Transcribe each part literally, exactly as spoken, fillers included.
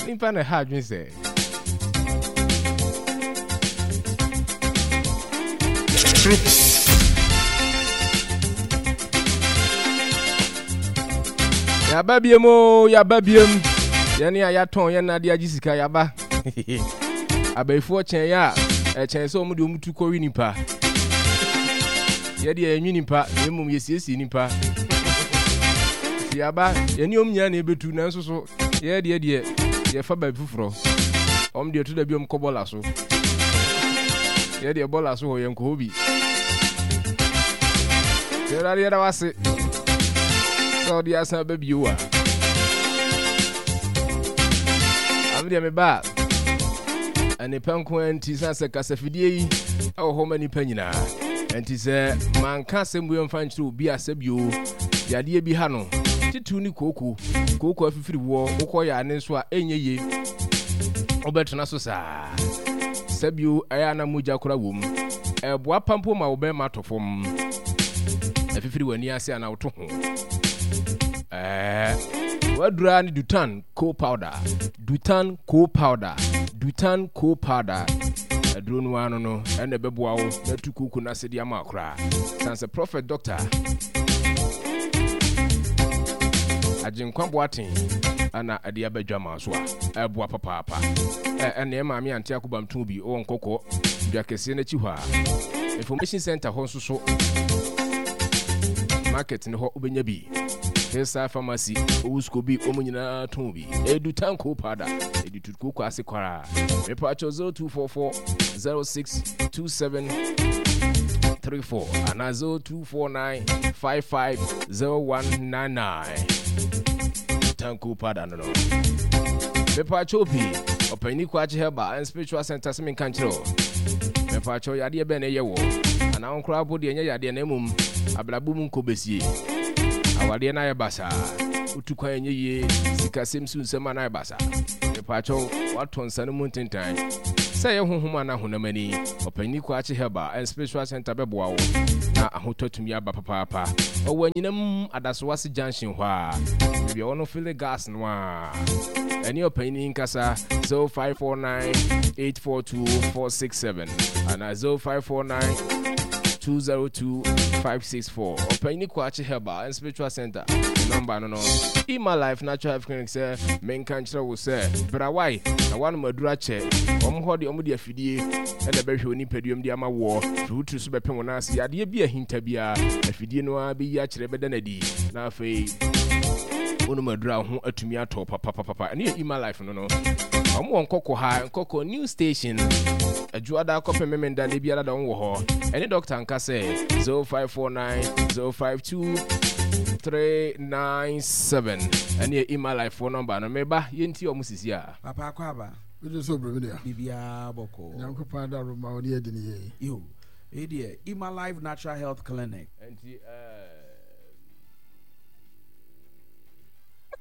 Nipa na ɛha adwene sɛ. Troops. Yaba biem o, yaba biem. Yɛne a yɛatɔn yɛn nade agye sika yaba. Abayifoɔ kyɛn yɛ a, ɛkyɛn sɛ wɔn de wɔn tu kɔwe nipa. Yɛde yɛnwe nipa, na mmom yɛsiesie nipa. Nti yaba, yɛne wɔn nyinaa na ɛbɛtu, nanso so yɛ deɛ deɛ yɛfa baabi foforɔ. Wɔn deɛ to da bi wɔn kɔ bɔla so. Yɛ deɛ bɔla so hɔ yɛnkɔ hɔ bi. Yɛwurade yɛda wase sɛ ɔde asan ba bio a. Ame deɛ meba a nnipa nko ara nti san sɛ kasafidie yi ɛwɔ hɔ ma nnipa nyinaa. Nti sɛ manka asɛm wei mfa nkyerɛ obi a sɛ bio yadeɛ bi ha no titiriw ne kooko kooko afifiri woɔ wokɔ yɛ ane nso a ɛnyɛ yie wobɛtena so saa sɛ bio ɛyɛ ana mogya kora wom ɛboa pa mpo ma wo bɛrima atɔ fam afifiri w'ani ase ana woto ho ɛɛ wadura ne Dutan co powder, Dutan co powder, Dutan co powder. Aduro no ano no ɛna ɛbɛboa wo na atu kooko no ase de ama koraa. San sɛ Prophet Doctor Agyenkwa Boaten ana ɛde aba dwama so a ɛboa papaapa. Ɛne maame ante akobam tun bi wɔ nkɔkɔ dwa kɛseɛ no akyi hɔ a information center hɔ nso so market no hɔ wobɛnya bi. Hillside Pharmacy, Owusko bi, wɔn nyinaa tɔn bi. Edu tanko powder, edu tutuko kɔ ase kwaraa. Mepa zero two four four zero six two seven three four ana zero two four nine five five zero one nine nine. Tanko powder no no. Mepa pii, ɔpanyin Kwakye Herbal and Spiritual Center sɛ menka nkyerɛ o. Mepa yadeɛ bɛn na ɛyɛ wɔ anaa wo koraa po deɛ ɛnyɛ yadeɛ na mmom abrabɔ mu nkɔ bɛsie awadeɛ no ayɛ basaa wotu kwan ɛnyɛ yie sikasɛm su nsɛm a no ayɛ basaa mepaakyɛw woatɔ nsa no mu ntentan sɛ ɛyɛ honhom anaa honam ani ɔpanyin Kwakye Herbal and Spiritual Center bɛboa wo na ahotɔ atumi aba papaapa ɔwɔ anyinam adasoase junction hɔ a baabi a wɔno fill gas no a ɛne ɔpanyin nkasa zero five four nine eight four two four six seven anaa zero five four nine two zero two five six four. Ɔpanyin Kwakye Herbal and Spiritual Center number no no Ima Life Natural Health Clinic sɛ menka nkyerɛ wo sɛ brawae na woanom aduru akyɛ ɔmo hɔ de ɔmo de afidie ɛna ɛbɛhwɛ wo nipaduam de ama woɔ firi wo tiri so bɛpem wo nan ase yadeɛ bi ahinta biara afidie no ara bɛyi akyerɛ bɛda no adi na afei wonom aduru a wo ho atumi atɔ papapapa. Ɛno yɛ Ima Life no no ɔmo wɔ Nkɔkɔ ha, Nkɔkɔ New Station, Adwoada kɔpem Memenda ne biara da wɔn wɔ hɔ. Ɛne dɔkta nka sɛ zero five four nine zero five two three nine seven ɛne yɛ Ima Life foɔ number no. Meba yɛnti ɔmo sisi a. Papa akɔ aba. Wode sɛ obrɛ me dea. Biribiara bɔkɔɔ. Nyankopɔn adaro ma wode adi ne yie. Yo, ɛyi deɛ Ima Life Natural Health Clinic. Nti ɛɛ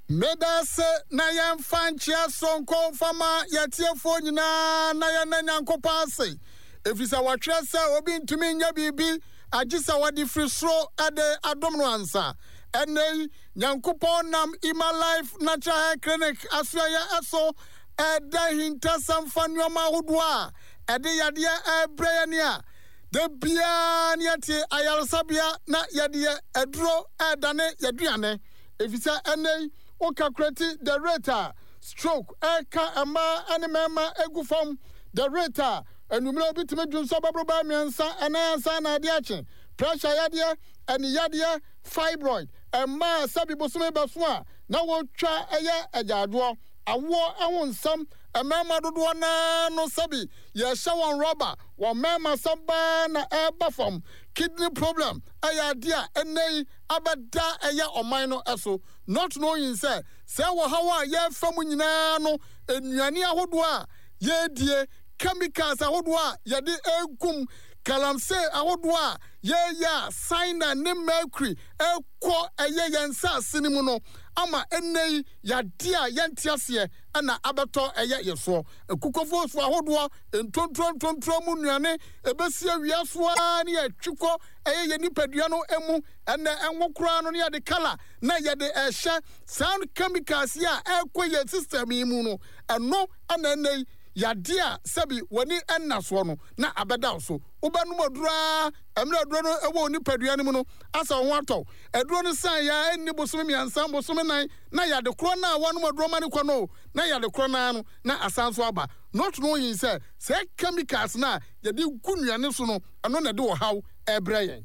Meda ase na yɛmfa nkyea soronko mfama yɛtiefoɔ nyinaa na yɛnna Nyankopɔn ase ɛfiri sɛ wɔtwerɛ sɛ obi ntumi nyɛ biribi agye sɛ wɔde firi soro de adom no ansa. Ɛnnɛ yi Nyankopɔn nam Ima Life Natural Hair Clinic asoɛyɛ ɛso ɛda hintasɛm fa nneɔma ahodoɔ a ɛde yadeɛ ɛrebrɛ yɛne a da biara ne yɛte ayaresabea na yɛde yɛ aduro ɛredane yɛduane ɛfiri sɛ ɛnnɛ yi wo calculate the rate a stroke ɛka mmaa ne mmarima egu fam, the rate a anwummerɛ obi tumi dwonsɔ bɛboro bɛyɛ mmiɛnsa ɛnan ansa na ade akye, pressure yadeɛ, ɛne yadeɛ, fibroid, mmaa sɛbi bosome bɛso a na wɔtwa ɛyɛ agyaadwoɔ, awoɔ ɛho nsɛm, mmarima dodoɔ naa no sɛbi yɛhyɛ wɔn rɔba wɔn mmarima sɛm baa na ɛreba fam, kidney problem ɛyɛ adeɛ a ɛnnɛ yi abɛda ɛyɛ ɔman no ɛso, not knowing sɛ sɛ wɔ haw a yɛrefa mu nyinaa no nnuane ahodoɔ a yɛredie, chemicals ahodoɔ a yɛde egum. Galamsey ahodoɔ a yɛyɛ a cyanide ne mercury ɛkɔ ɛyɛ yɛn nsaase no mu no ama ɛnnɛ yi yadeɛ a yɛnte aseɛ ɛna abɛtɔ ɛyɛ yɛ soɔ. Akukɔfoɔ so ahodoɔ, ntontoro ntontoro mu nnuane ɛbɛsi awia so ara ne yɛtwe kɔ ɛyɛ yɛn nipadua no mu. Ɛnɛ ɛnwo koraa no ne yɛde kala na yɛde ɛhyɛ saa chemicals yi a ɛkɔ yɛn system yi mu no, ɛno ɛna ɛnnɛ yi yadeɛ a sɛbi w'ani ɛnna soɔ no na abɛda wo so. Wobɛnom aduro ara, mmerɛ aduro no ɛwɔ wo nipadua no mu no, asɛ wo ho atɔ wo. Aduro no san yɛ a ɛnni bosome mmiɛnsa, bosome nan, na yade korɔ no a woanom aduro ma no kɔ no, na yade korɔ no ara no na asan so aba. Not knowing sɛ saa chemicals no a yɛde gu nnuane so no, ɛno na ɛde ɔhaw ɛrebrɛ yɛn.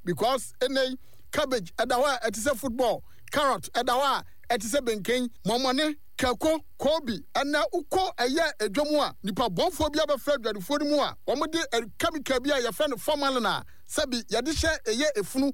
Because ɛnnɛ yi, cabbage ɛda hɔ a ɛte sɛ football, carrot ɛda hɔ a ɛte sɛ benken, mɔmɔne, kako, koobi. Ɛnnɛ wokɔ ɛyɛ edwa mu a, nipa bɔnfoɔ bi abɛfra adwadifoɔ no mu a wɔde chemical bi a yɛfrɛ no formalin a sɛbi yɛde hyɛ ɛyɛ efunu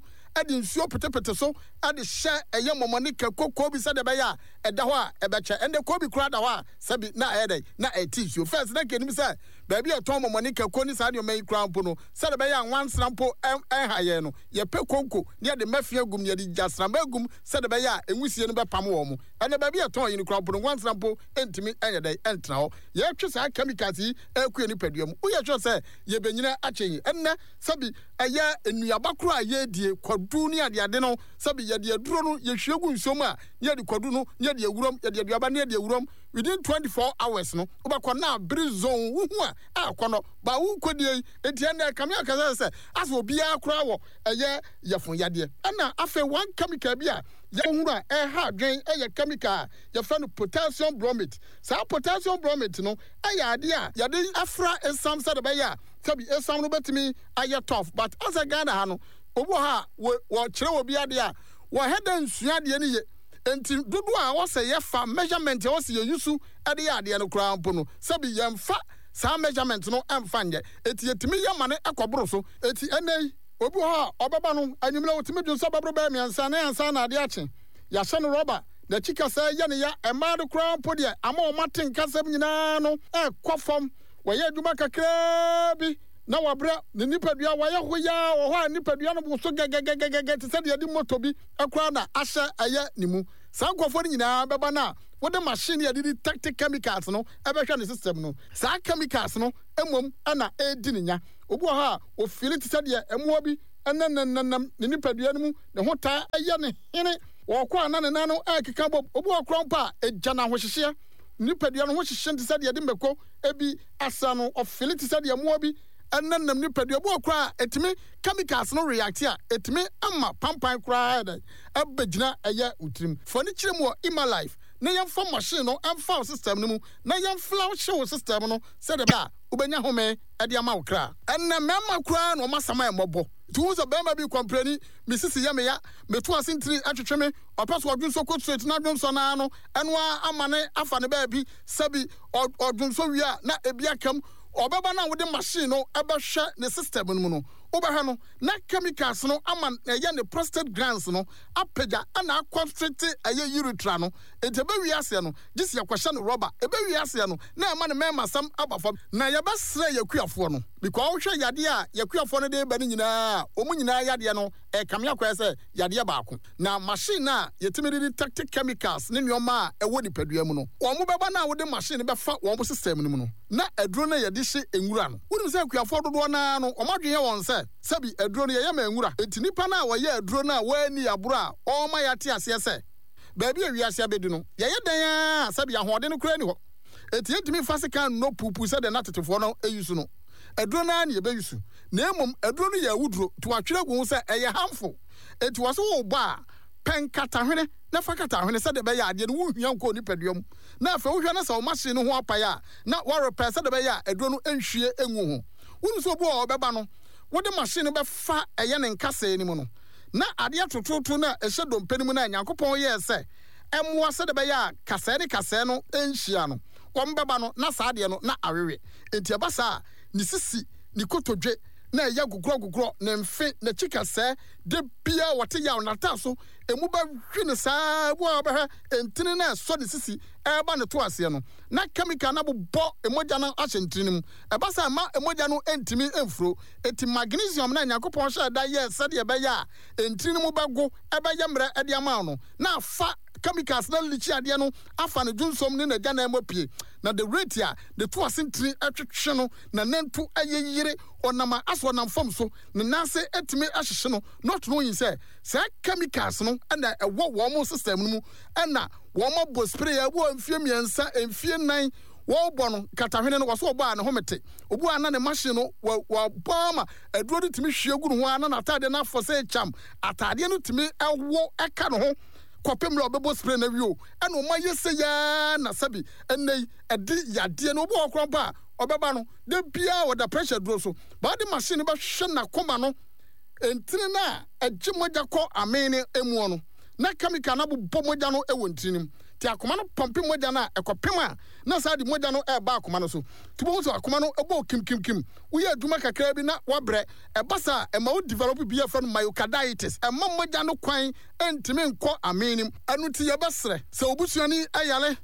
de nsuo petepete so de hyɛ ɛyɛ mɔmɔne, kako, koobi sɛdeɛ ɛbɛyɛ a ɛda hɔ a ɛbɛkyɛ. Ɛnnɛ koobi koraa da hɔ a sɛbi na ɛyɛ dɛn? Na ɛte nsuo. First na nka yɛnim sɛ baabi a yɛtɔn mɔmɔne, kako ne saa nneɛma yi koraa mpo no, sɛdeɛ ɛbɛyɛ a nwansena mpo ɛnha yɛn no, yɛpɛ konko na yɛde mmɛfea gum na yɛde gyasramma agum sɛdeɛ ɛbɛyɛ a nwusie no bɛpam wɔn. Ɛnnɛ baabi a yɛtɔn yi no koraa mpo no, nwansena mpo ntumi nyɛ dɛn ntena hɔ. Yɛretwe saa chemicals yi rekɔ yɛn nipadua mu. Woyɛ sure sɛ yɛbɛnyini akyɛ yi? Ɛnnɛ sɛbi ɛyɛ nnuaba koraa a yɛredie, kwadu ne adeade no, sɛbi yɛde aduro no yɛhwie gu nsuo mu a, na yɛde kwadu no na yɛde awuram, yɛde aduaba no na yɛde awuram. Within twenty four hours no, wobɛkɔ na abere zone, wohu a, akɔnnɔ. Ba worekɔdie yi, enti ɛnnɛ ɛkame akasa sɛ asɛ obiara koraa wɔ ɛyɛ yafunu yadeɛ. Ɛna afei one chemical bi a yɛhunu a ɛha adwene yɛ chemical a yɛfrɛ no potassium bromate. Saa potassium bromate no yɛ adeɛ a yɛde fra esiam sɛdeɛ ɛbɛyɛ a sɛbi esiam no bɛtumi ayɛ tough, but asɛ Ghana ha no obi wɔ hɔ a wɔkyerɛ obi adeɛ a wɔhɛ dɛ nsua adeɛ no ye, enti dodoɔ a ɛwɔ sɛ yɛfa measurement a ɛwɔ sɛ yɛyusu de yɛ adeɛ no koraa mpo no sɛbi yɛmfa saa measurement no mfa nyɛ, enti yɛtumi yɛ ma no kɔboro so. Enti ɛnnɛ yi obi wɔ hɔ a ɔbɛba no anwummerɛ ɔtumi dwonsɔ bɛboro bɛyɛ mmiɛnsa ne ansa na adeɛ akye, yɛahyɛ no rɔba, n'akyi kasaa yɛ ne ya, mmaa no koraa mpo deɛ ama wɔn ate nkasɛm nyinaa no ɛrekɔ fam, wɔyɛ adwuma kakraa bi na wabrɛ, ne nipadua wayɛ hoyaa wɔ hɔ a nipadua no woso gɛgɛgɛgɛgɛ te sɛ deɛ yɛde moto bi koraa na ahyɛ ɛyɛ ne mu. Saa nkurɔfoɔ no nyinaa bɛba no a wode machine a yɛde detect chemicals no bɛhwɛ ne system no. Saa chemicals no mmom na ɛredi ne nya. Obi wɔ hɔ a ofeeli te sɛ deɛ mmoa bi nenam ne nipadua no mu, ne ho taa yɛ no hene, ɔrekɔ a na ne nan no rekeka bom. Obi wɔ hɔ koraa mpo a egya no ahohyehyeɛ, ne nipadua no ho hyehye no te sɛ deɛ yɛde mako bi asra no, ɔfeeli te sɛ deɛ mmoa bi nenam nipadua. Obi wɔ hɔ koraa a ɛtumi chemicals no react a, ɛtumi ma pampan koraa yɛ dɛn ɛbɛgyina ɛyɛ wo tirim. Fa ani kyerɛ mu wɔ Emalife na yɛmfa machine no mfa wo system no mu na yɛmflawhye wo system no sɛdeɛ ɛbɛyɛ a wobɛnya home de ama wo kra. Ɛnnɛ mmarima koraa na wɔn asɛm ayɛ mmɔbɔ. Nti wohu sɛ barima bi kɔmprɛni, me sisi yɛ me ya, meto ase ntini twetwe me, ɔpɛ sɛ ɔdwonsɔ kɔ straight na dwonsɔ no ara no, ɛno ara ama no afa ne baabi, sɛbi ɔdwonsɔ wie a na ebi aka mu. Ɔbɛba no a wode machine no bɛhwɛ ne system no mu no, wobɛhwɛ no na chemicals no ama ɛyɛ ne prostate glands no apagya na akɔnstricte ɛyɛ urethra no. Enti ɛbɛwie aseɛ no, gye sɛ yɛkɔhyɛ no rɔba. Ɛbɛwie aseɛ no, na ɛma ne mmarimasɛm aba fam. Na yɛbɛsrɛ yɛn akuafoɔ no, because wohwɛ yadeɛ a yɛn akuafoɔ no de reba no nyinaa a, wɔn nyinaa yadeɛ no ɛrekame akɔyɛ sɛ yadeɛ baako. Na machine no a yɛtumi de detect chemicals ne nneɛma a ɛwɔ nipadua mu no, wɔn bɛba no a wode machine no bɛfa wɔn system no mu no, na aduro no a yɛde hye nwura no. Wonim sɛ akuafoɔ dodoɔ no ara no, wɔn adwene yɛ wɔn sɛ, sɛbi aduro no yɛyɛ ma nwura. Enti nipa no a ɔyɛ aduro no a wanni aboro a ɔrema yɛate aseɛ sɛ, baabi a wiase abedu no, yɛyɛ dɛn ara a, sɛbi ahoɔden no koraa nni hɔ. Enti yentumi mfa sekan nnɔ puupuu sɛdeɛ na tetefoɔ no use no. Aduro no ara na yɛbɛuse. Na mmom aduro no yɛ awuduro, nti wɔatwerɛ agu ho sɛ ɛyɛ harmful. Enti wɔse worebɔ a, pɛ nkatahwene na fa kata hwene sɛdeɛ ɛbɛyɛ a adeɛ no wonhia nkɔ wo nipadua mu. Na afei wohwɛ na sɛ wo machine no ho apae a, na woarepɛ sɛdeɛ ɛbɛyɛ a aduro no nhwie ngu ho. Wonim sɛ obi wɔ hɔ a ɔbɛba no, wode machine no bɛfa ɛyɛ ne nkasɛɛ no mu no, na adeɛ tototo no a ɛhyɛ dompe no mu no a Nyankopɔn yɛɛ sɛ ɛmmoa sɛdeɛ ɛbɛyɛ a kasɛɛ ne kasɛɛ no nhyia no, wɔbɛba no na saa adeɛ no na awewe. Enti ɛba saa a, ne sisi, ne kotodwe, na ɛyɛ gogorɔgogorɔ, ne mfe, n'akyi kasɛɛ, da biara wɔte yaw, n'ataaso emu bɛhwe no saa ara, ebi wɔ hɔ a wobɛhwɛ ntini no a ɛsɔ ne sisi ɛreba ne to aseɛ no, na kɛmikal no abobɔ mogya no ahyɛ ntini no mu. Ɛba saa a, ɛmma mogya no ntumi mfuro. Enti magnesium no a Nyankopɔn hyɛɛ da yɛɛ sɛdeɛ ɛbɛyɛ a ntini no mu bɛgo, ɛbɛyɛ mmerɛ de ama wo no, na afa chemicals no alikyi adeɛ no afa ne dwonsɔm ne n'agyanan mu apue. Na the rate a ne to ase ntini twetwe no, n'anantu yeyere, ɔnam a asɛ ɔnam fam so, ne nan ase tumi hyehye no, not knowing sɛ saa chemicals no na ɛwɔ wɔn system no mu na wɔn abɔ spray a ɛwɔ mfie mmiɛnsa, mfie nnan wɔbɔ no katahwene no, wɔso wɔbɔ a ne home te. Obi a na ne machine no wɔbɔ ama aduro no tumi hwie gu ne ho a na n'ataadeɛ no afɔ sɛ kyam, ataadeɛ no tumi ɛwo ɛka ne ho kɔpem mmerɛ a ɔbɛbɔ spray no awie o, ɛna ɔma yɛ sɛ yaa na sɛbi ɛnɛ yi ɛde yadeɛ no. Obi wɔ hɔ koraa mpo a ɔbɛba no da biara ɔda pressure duro so, ba ɔde machine no bɛhwɛ n'akoma no ntini no a ɛgye mogya kɔ amee no emuɔ no, na chemical no abobɔ mogya no wɔ ntini no mu, nti akoma no pɔmpe mogya no a ɛkɔpem a na saa de mogya no ɛreba akoma no so, nti bohu sɛ akoma no ɛbɔ kimkimkim, woyɛ adwuma kakraa bi na wabrɛ. Ɛba saa a ɛma wo develop bi a yɛfrɛ no myocarditis, ɛma mogya no kwan ntumi nkɔ amee no mu. Ɛno nti yɛbɛsrɛ sɛ wo busuani yare,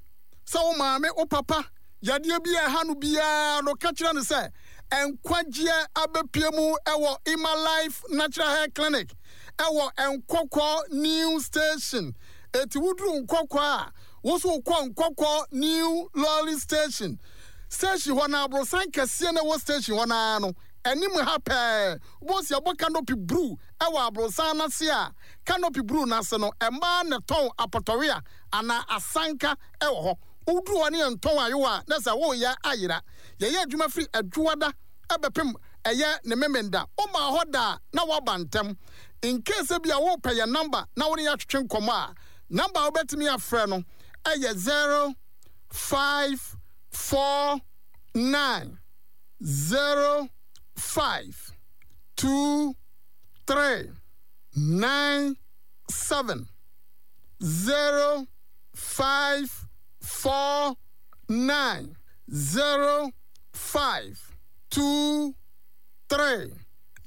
sɛ wo maame, wo papa, yadeɛ bi a ɛha no biara no, ka kyerɛ no sɛ nkwagyeɛ abɛpue mu wɔ Emma Life Natural Hair Clinic wɔ Nkɔkɔ New Station. Eti woduru Nkɔkɔ a, wo nso wokɔ Nkɔkɔ New Lorry Station. Station hɔ no, aborosan kɛseɛ no ɛwɔ station hɔ no ara no, anim ha pɛɛ, wobɛhu sɛ yɛabɔ canopy bruu wɔ aborosan no ase a, canopy bruu no ase no, mmaa na ɛtɔn apɔtɔwea anaa asanka wɔ hɔ. Woduru hɔ ne yɛntɔn ayowa a, na sɛ woreyɛ ayera. Yɛyɛ adwuma firi Adwoada bɛpem ɛyɛ ne Memenda. Womaa hɔ da a, na woaba ntɛm. In case ebia worepɛ yɛn number na wo ne yɛn atwetwe nkɔmmɔ a, number a wobɛtumi afrɛ no yɛ zero five four nine zero five two three nine seven zero five four nine zero five two three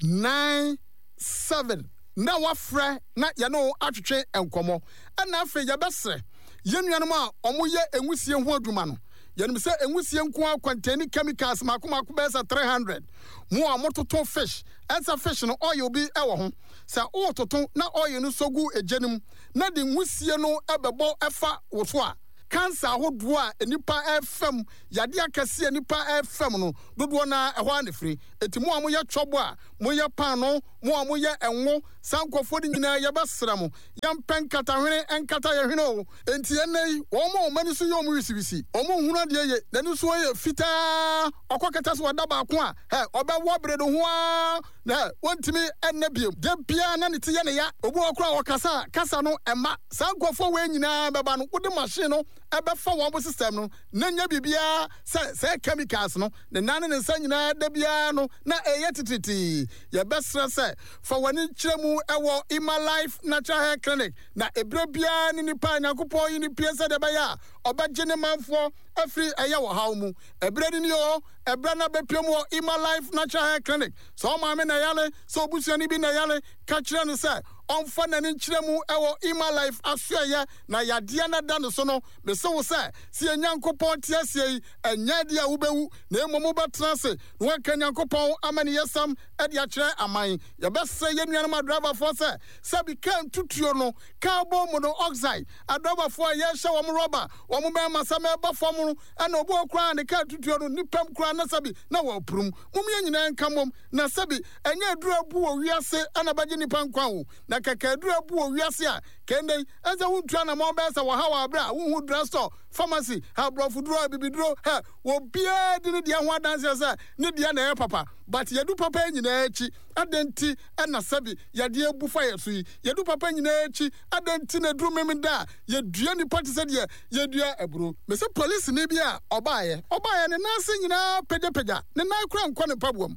nine seven na wafrɛ na yɛne wo atwetwe nkɔmmɔ. Ɛna afei yɛbɛsrɛ yɛn nuanom a wɔyɛ nwusie ho adwuma no. Yɛnim sɛ nwusie nko ara contain chemicals mako mako bɛyɛ sɛ three hundred. Mo a mototo fish, ɛnsɛ fish no oil bi wɔ ho. Sɛ wototo na oil no sɔ gu egya no mu na de nwusie no bɛbɔ fa wo so a, cancer ahodoɔ a nnipa refa mu, yadeɛ akɛseɛ a nnipa refa mu no, dodoɔ no ara ɛhɔ ara na ɛfiri. Enti mo a moyɛ twɔbo a moyɛ paanoo, mo a moyɛ ngo, saa nkurɔfoɔ no nyinaa yɛbɛsrɛ mo, yɛmpɛ nkatahwene nkata yɛn hwene o. Enti ɛnnɛ yi, wɔn a wɔn ani so yɛ wɔn wisiwisi, wɔn nhunu adeɛ ye, n'ani so yɛ fitaa, ɔkɔ kɛtɛ so ɔda baako a, hɛ, ɔbɛwɔ bere no ho ara, na hɛ, wɔntumi nna bio. Da biara na ne ti yɛ ne ya. Obi wɔ hɔ koraa a ɔkasa a, kasa no mma. Saa nkurɔfoɔ wei nyinaa bɛba no, wode machine no bɛfa wɔn system no, na nyɛ biribiara sɛ sɛɛ chemicals no, ne nan ne ne nsa nyinaa da biara no na ɛreyɛ titiritii. Yɛbɛsrɛ sɛ fa w'ani kyerɛ mu wɔ Emma Life Natural Hair Clinic, na ɛberɛ biara ne nipa a Nyankopɔn yi no pue sɛdeɛ ɛbɛyɛ a ɔbɛgye ne manfoɔ afiri ɛyɛ ɔhaw mu. Ɛberɛ no nie oo, ɛberɛ no abɛpue mu wɔ Emma Life Natural Hair Clinic. Sɛ wo maame na ɛyare, sɛ obusuani bi na ɛyare, ka kyerɛ no sɛ ɔmfa n'ani nkyerɛ mu wɔ Emma Life asoɛeɛ na yadeɛ no da ne so no. Mese wo sɛ, sɛ yɛn Nyankopɔn te aseɛ yi, ɛnyɛ adeɛ a wobɛwu, na mmom wobɛtena ase na woaka Nyankopɔn amaniyɛsɛm de akyerɛ aman. Yɛbɛsrɛ yɛn nuanom adriverfoɔ sɛ, sɛbi kaa ntutuo no, carbon monoxide, adriverfoɔ a yɛrehyɛ wɔn rɔba, wɔn mmarima sɛ mɛba fam no, ɛna obi wɔ koraa a ne kaa tutuo no, nipam koraa na sɛbi na wɔapurum. Mom yɛn nyinaa nka mmom, na sɛbi ɛnyɛ aduru abu wɔ wiase na ɛbɛgye nnipa nkwa o, na kɛkɛ aduru abu wɔ wiase a, kɛndɛ yi, ɛnsɛ wontu anamɔn bɛyɛ sɛ wɔhaw a bere a wonhu drugstore, pharmacy, ha aborɔfoduro, abibiduro, hɛ, obiara di ne deɛ ho adanseɛ sɛ ne deɛ na ɛyɛ papa, but yɛdu papa yi nyinaa akyi, adɛn nti na sɛbi yadeɛ abu fa yɛ so yi? Yɛdu papa nyinaa akyi, adɛn nti na ɛduru Memenda a yɛdua nnipa te sɛ deɛ yɛdua aburo? Mese polisini bi a ɔbaeɛ, ɔbaeɛ ne nan ase nyinaa pagyapagya, ne nan koraa nkɔ ne mpaboa mu.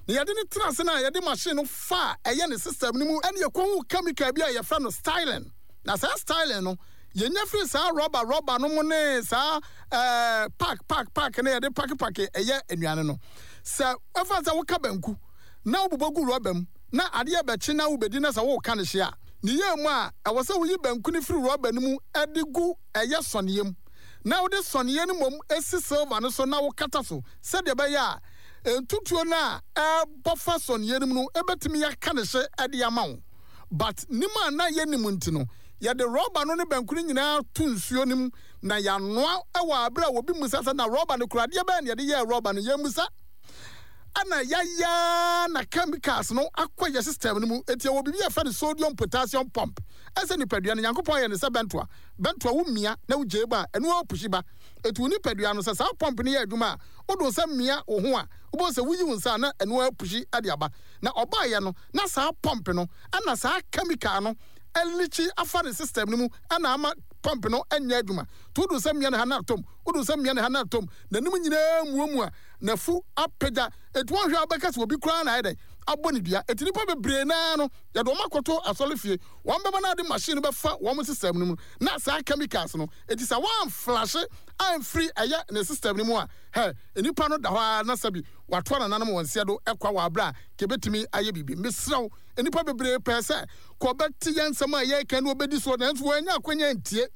Na yɛde no tena ase no a yɛde machine no fa a ɛyɛ ne system no mu ɛne yɛkɔhuu chemical bi a yɛfrɛ no styling. Na saa styling no yɛnya firi saa rɔba rɔba no mu ne saa ɛɛ pack pack pack no yɛde pake pake ɛyɛ nnuane no. Sɛ ɛfa sɛ woka banku na wobobɔ gu rɔba mu na adeɛ bɛkye na wobɛdi na sɛ woka ne hye a ne yɛ mu a ɛwɔ sɛ woyi banku no firi rɔba no mu de gu ɛyɛ sɔneɛ mu na wode sɔneɛ no mmom esi silver no so na wokata so sɛdeɛ ɛbɛyɛ a ntutuo no a ɛbɔ fa sɔneɛ no mu no ɛbɛtumi aka ne hye de ama wo. But nim a na yɛnim nti no, yɛde rɔba no ne banku no nyinaa to nsuo no mu na yɛanoa wɔ abere a obi musa sɛ na rɔba no kura adeɛ bɛyɛ na yɛde yɛɛ rɔba no, yɛmmusa. Ɛna yɛayɛ na chemicals no akɔ yɛ system no mu. Eti ɛwɔ biribi a yɛfrɛ no sodium potassium pump. Ɛsɛ nipadua no, Nyankopɔn ayɛ no sɛ bɛntoa. Bɛntoa wo mia na wogyae ba a, ɛno ara pushi ba. Eti wo nipadua no, sɛ saa pump no yɛ adwuma a, wode wo nsa mia wo ho a, wobɛhu sɛ woyi wo nsa a na ɛno ara pushi de aba. Na ɔbaeɛ no, na saa pump no, ɛna saa chemical no alikyi afa ne system no mu ɛna ama pump no nyɛ adwuma. Nti wode wo nsa mia ne ha na atom, wode wo nsa mia ne ha na atom, n'anim nyinaa muamua, n'afu apagya. Eti wɔnhwɛ a wobɛka sɛ obi koraa na ayɛ dɛn abɔ ne dua. Eti nnipa bebree naa no, yɛde wɔn akɔto asɔrefie, wɔn bɛba na ade machine no bɛfa wɔn system no mu na saa chemicals no. Eti sɛ wɔamflashe amfiri ɛyɛ ne system no mu a, hɛ, nnipa no da hɔ ara na sɛbi watoa nananom wɔn nseɛ do kwa wɔ abere a kebetumi ayɛ biribi. Mesrɛ wo, nnipa bebree pɛɛ sɛ kɔbɛte yɛn nsɛm a yɛreka ne wɔbɛdi soɔ, nanso wɔannya akwanya antie.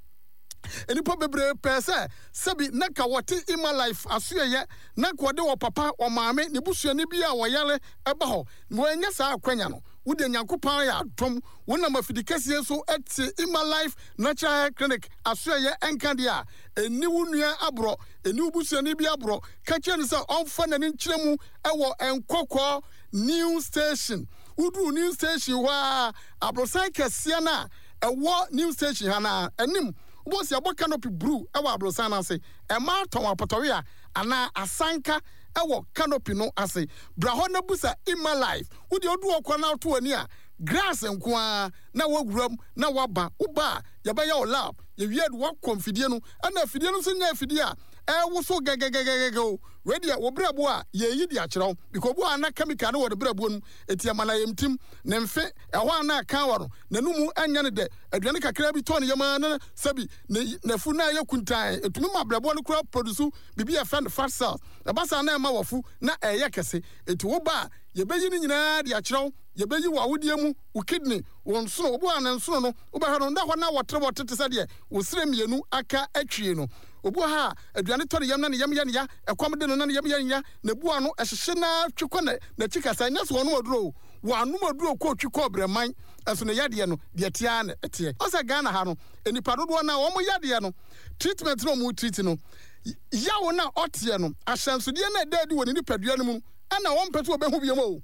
Nnipa bebree pɛɛ sɛ sɛbi na ka wɔte Emma Life asoɛyɛ na ka wɔde wɔ papa, wɔ maame, ne busuani bi a wɔyare ɛba hɔ. Na wɔannya saa akwanya no. Wo deɛ Nyankopɔn ayɛ adom, wonam afidi kɛseɛ so te Emma Life Natural Hair Clinic asoɛyɛ ɛnka deɛ a, ɛnni wo nua aborɔ, ɛnni wo busuani bi aborɔ. Ka kyerɛ no sɛ ɔmfa n'ani nkyerɛ mu wɔ Nkɔkɔɔ New Station. Woduru New Station hɔ a, aborosan kɛseɛ no a ɛwɔ New Station ha no ara anim, wobɛhu sɛ yɛabɔ canopy bruu wɔ aborosan no ase. Mmaa tɔn apɔtɔwea anaa asanka wɔ canopy no ase. Bra hɔ na busa Emma Life. Wo deɛ wodu hɔ koraa na woto w'ani a, grass nko ara na woawura mu na woaba. Woba a, yɛbɛyɛ wo lab. Yɛwie a de woakɔ mfidie no. Ɛna afidie no nso nyɛ afidie a ɛrewoso gɛgɛgɛgɛgɛ o. Wei deɛ wo brɛboɔ a yɛreyi de akyerɛ wo. Because obi wɔ hɔ a na chemical no wɔ ne brɛboɔ no mu. Enti ɛma no ayamtim, ne mfe, ɛhɔ a na aka wɔ no, n'anomu nyɛ no dɛ, aduane kakraa bi tɔ ne yam ara na sɛbi ne n'afu no ayɛ kuntann. Ɛtumi ma brɛboɔ no koraa produce biribi a yɛfrɛ no fat cells. Ɛba saa na ɛma w'afu na ɛyɛ kɛse. Enti woba a, yɛbɛyi ne nyinaa de akyerɛ wo. Yɛbɛyi w'awodeɛ mu, wo kidney, wo nsono. Obi wɔ hɔ a ne nsono no, wobɛhwɛ no, na hɔ na wɔterewɔtere te sɛ deɛ wo serɛ mmienu aka atwie no. Obi wɔ ha a, aduane tɔ ne yam na ne yam yɛ no ya, ɛkɔm de no na ne yam yɛ no ya, n'abu ano hyehye no ara twe kɔ n'akyi kasa. Ɛnyɛ sɛ ɔnom aduro o, wanom aduro kɔ otwi kɔɔ brɛman, nso ne yadeɛ no, deɛ ɛteɛ ara na ɛteɛ. Ɔsɛ sɛ Ghana ha no, nnipa dodoɔ no ara, wɔn yadeɛ no, treatment no a wɔn treat no, yaw no a ɔteɛ no, ahyɛnsodeɛ no a ɛda adi wɔ ne nipadua no mu no, ɛna wɔmpɛ sɛ wɔbɛhu biom o.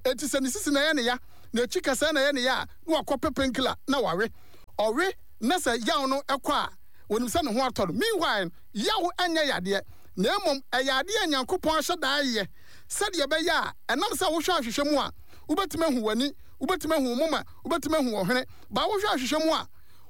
Enti sɛ ne sisi na ɛyɛ ne ya, n'akyi kasɛɛ na ɛyɛ ne ya a, na wakɔpɛ painkiller na wawe. Ɔwe na sɛ yaw no kɔ a, onim sɛ ne ho atɔ no. Meanwhile, yaw nyɛ yadeɛ, na mmom ɛyɛ adeɛ a Nyankopɔn ahyɛ da ayɛ sɛdeɛ ɛbɛyɛ a ɛnam sɛ wohwɛ ahwehwɛ mu a, wobɛtumi ahu w'ani, wobɛtumi ahu wo moma, wobɛtumi ahu wo hwene. But wohwɛ ahwehwɛ mu a,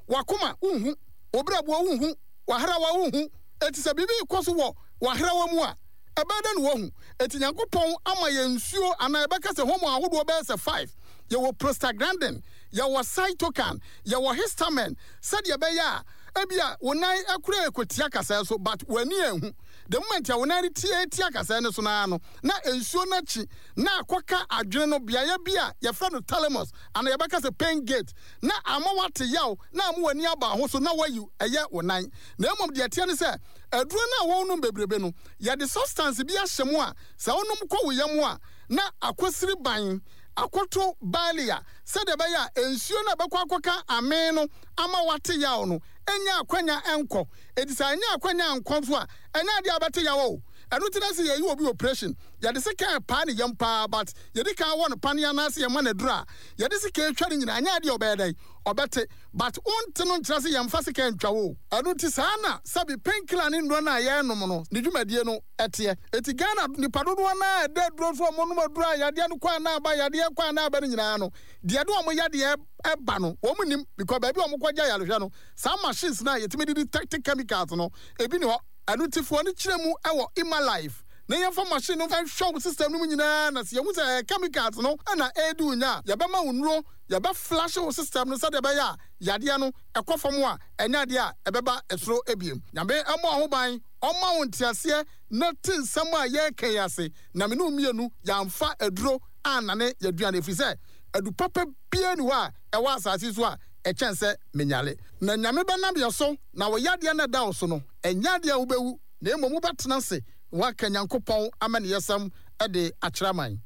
w'akoma wonhu, wo brɛboɔ wonhu, w'ahrawa wonhu. Enti sɛ biribi rekɔ so wɔ w'ahrawa mu a, ɛbɛyɛ dɛn na woahu? Enti Nyankopɔn ama yɛn nsuo anaa yɛbɛka sɛ hormone ahodoɔ bɛyɛ sɛ five. Yɛwɔ prostaglandin, yɛwɔ cytokine, yɛwɔ histamine, sɛdeɛ ɛbɛyɛ a ebia wo nan koraa rekɔtia kasɛɛ so but w'ani anhu. The moment a wo nan retia tia kasɛɛ no so no ara no, na nsuo no akyi na akɔka adwene no beaeɛ bi a yɛfrɛ no thalamus anaa yɛbɛka sɛ pain gate na ama woate yaw na ama w'ani aba ho so na woayi ɛyɛ wo nan. Na mmom deɛ ɛteɛ ne sɛ aduro no a wonom bebrebe no, yɛde substance bi ahyɛ mu a sɛ wonom kɔ wo yam a na akɔsiri ban akɔto barley a sɛdeɛ ɛbɛyɛ a nsuo no a ɛbɛkɔ akɔka amee no ama woate yaw no nnya akwanya nkɔ. Enti sɛ annya akwanya ankɔ nso a, ɛnyɛ adeɛ a wobɛte yaw o. Ɛno nti na sɛ yɛyi obi operation, yɛde sekan paa ne yam paa but yɛdi kan wɔ no paneɛ anaasɛ yɛma no aduro a yɛde sekan twa no nyinaa, ɛnyɛ adeɛ a ɔbɛyɛ dɛn? Ɔbɛte. But wonte no nkyerɛ sɛ yɛmfa sekan ntwa wo o. Ɛno nti saa na sɛbe painkiller ne nnuro no a yɛrenom no ne dwumadie no teɛ. Enti Ghana nnipa dodoɔ no ara a ɛda aduro so a wɔnom aduro a yadeɛ no kɔ a na aba, yadeɛ kɔ a na aba no nyinaa no, deɛ ɛde wɔn yadeɛ ba no wɔn nnim because baabi a wɔn kɔgye ayarehwɛ no saa machines no a yɛtumi de detect chemicals no ebi ni hɔ. Ɛno nti fa w'ani kyerɛ mu wɔ Emma-Life na yɛmfa machine no nhwɛ wo system no mu nyinaa na sɛ yɛhu sɛ ɛyɛ chemicals no na ɛredi wo nya a yɛbɛma wo nnuro, yɛbɛ flush wo system no sɛdeɛ ɛbɛyɛ a yadeɛ no ɛkɔ fam a ɛnyɛ adeɛ a ɛbɛba soro ebiem. Nyame mmɔ wo ho ban, ɔmma wo nteaseɛ na te nsɛm a yɛreka yi ase na me ne wo mmienu yɛamfa aduro annane yɛaduane, ɛfiri sɛ adu papa biara nni hɔ a ɛwɔ asase so a ɛkyɛn sɛ menyare. Na Nyame bɛnam yɛ so, na wo yadeɛ no a ɛda wo so no, ɛnyɛ adeɛ a wobɛwu, na mmom wobɛtena ase na woaka Nyankopɔn amaniyɛsɛm de akyerɛ aman.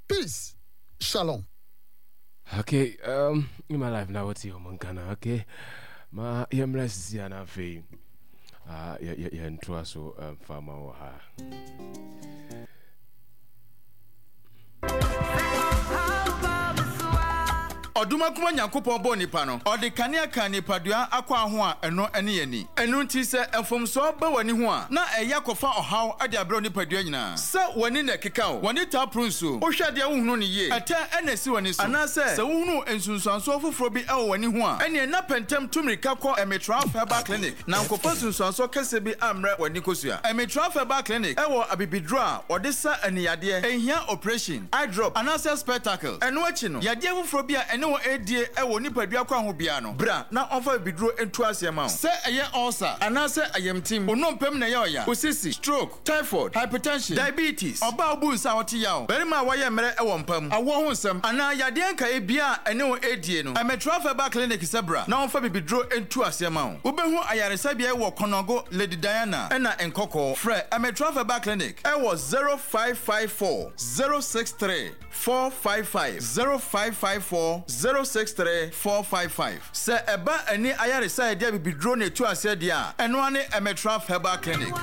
Peace. Shalom. Okay, um, in my life now, what's your mankana? Okay, ma yɛmmra sisi a na afei uh, yɛntoa so mfa ma wɔ ha. Ɔdomankoma Nyankopɔn bɔɔ nipa no, ɔde kanea kaa nipadua akwaa ho a ɛno ne ani. Ɛno nti sɛ mfomsoɔ ba w'ani ho a, na ɛyɛ akɔfa ɔhaw de abrɛ wo nipadua nyinaa. Sɛ w'ani na ɛkeka wo, w'ani taa poro nsuo, wohwɛ adeɛ a wonhunu no yie, ɛtɛ na ɛsi w'ani so, anaasɛ sɛ wohunu nsunsuansoɔ foforɔ bi wɔ w'ani ho a, ɛneɛ na pɛ ntɛm tu mmirika kɔ Emitraf Herbal Clinic na nkɔfa nsunsuansoɔ kɛseɛ bi ammrɛ w'ani kosua. Emitraf Herbal Clinic wɔ abibiduro a wɔde sa ani yadeɛ, ɛnhia oprehyɛn, eye drop, anaasɛ spectacles. Ɛno akyi no, yadeɛ foforɔ bi a ɛne wo redie wɔ nipadua kwan ho biara no, bra na ɔmfa abibiduro ntu aseɛ mma wo. Sɛ ɛyɛ ulcer anaasɛ ayamtim, wo nnompe mu na ɛyɛ ɔya, wo sisi, stroke, typhoid, hypertension, diabetes, ɔbaa a wobu nsa a ɔte yaw, barima a wayɛ mmerɛ wɔ mpa mu, awoɔ ho nsɛm, anaa yadeɛ nkaeɛ biara a ɛne wo redie no, Ɛmɛtra Herbal Clinic sɛ bra na wɔmfa bibiduro ntu aseɛ ma wo. Wobɛhu ayaresabea yi wɔ Konongo, Lady Diana, ɛna Nkɔkɔɔ. Frɛ Ɛmɛtra Herbal Clinic wɔ zero five five four, zero six three, four five five, zero five five four, zero six three, four five five. Sɛ ɛba ani ayaresa a yɛde abibiduro na ɛtu aseɛ deɛ a, ɛno ara ne Emetraf Herbal Clinic.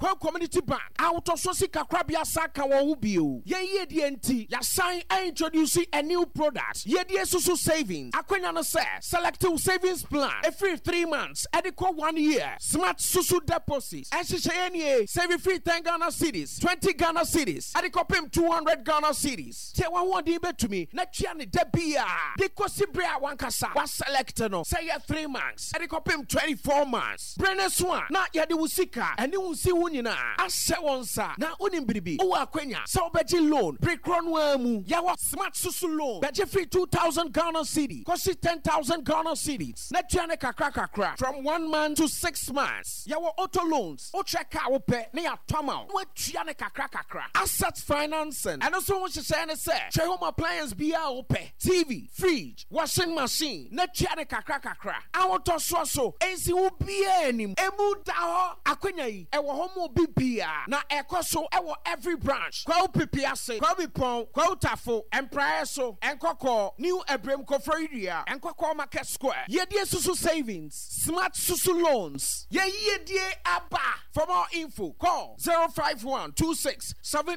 Kwawu Community Bank ahotɔsoɔ sika korabea san ka wɔn ho bio. Yɛn yiedie nti, yɛasan a introduce a new product, Yiedie Susu Savings. Akwanya no sɛ, select wo savings plan ɛfiri three months ɛde kɔ one year, Smart Susu Deposit. Nhyehyɛeɛ nie, save firi ten Ghana cedis, twenty Ghana cedis ɛde kɔpem two hundred Ghana cedis. Deɛ w'ahoɔden bɛtumi na tua no da biara de kɔsi berɛ a w'ankasa wa select no, sɛ ɛyɛ three months ɛde kɔpem twenty four months. Bere no so a na yɛde wo sika ne wo nsiho nyinaa ahyɛ wo nsa. Na wonim biribi? Wowɔ akwanya sɛ wobɛgye loan bere korɔ no ara mu. Yɛwɔ Smart Susu Loan. Bɛgye firi two thousand Ghana cedi kɔsi ten thousand Ghana cedis na tua no kakra kakra from one month to six months. Yɛwɔ auto loans. Wokyerɛ car a wopɛ na yɛatɔ ama wo na woatua no kakra kakra. Asset financing, ɛno nso ho nhyehyɛe ne sɛ, kyerɛ home appliance biara a wopɛ, T V, fridge, washing machine, na tua no kakra kakra. Ahotɔsoɔ so nsi wo biara anim. Emu da hɔ. Akwanya yi, ɛwɔ hɔ ma obi biara, na ɛkɔ so wɔ every branch. Kwawu Pipiase, Kwawu Bipɔn, Kwawu Tafo, Mpraeɛ so, Nkɔkɔɔ, New Abirem Koforidua, Nkɔkɔɔ Market Square. Yiedie Susu Savings, Smart Susu Loans. Yɛn yiedie aba! For more info, call zero five one two six seven